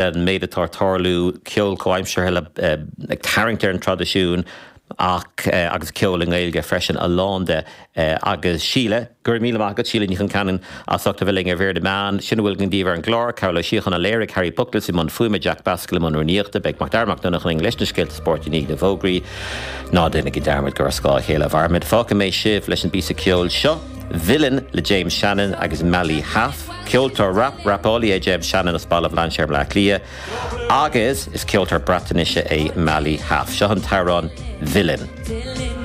An méid atá ag tarlú, ceol comhaimseartha le ag tarraingt ar an traidisiún ach agus ceol i nGaeilge freisin, a lán de. Agus Síle, go raibh míle maith agat, Síle Ní Chonceanainn, as ucht a bheith linn ar Mhír na Meán. Sin a bhfuil againn daoibh ar an gclár. Cearbhall Ó Síocháin a léirigh, Harry Puckles i mbun fuaime, Jack Basquel i mbun rúnaíochta. Beidh Macdara Mac Donncha linn leis na scéalta spóirt i ndiaidh na bhfógraí. Ná déanaigí dearmad gur ar scáth a chéile a mhairimid. Fágfaidh mé sibh leis an bpíosa ceoil seo, Villain le James Shannon agus Mali Hâf. Ceoltóir rap, rapálaí é James Shannon as Baile Bhlainséir i mBleá Cliath agus is ceoltóir Breatnaise é Mali Hâf. Seo an t-amhrán 'Villain'.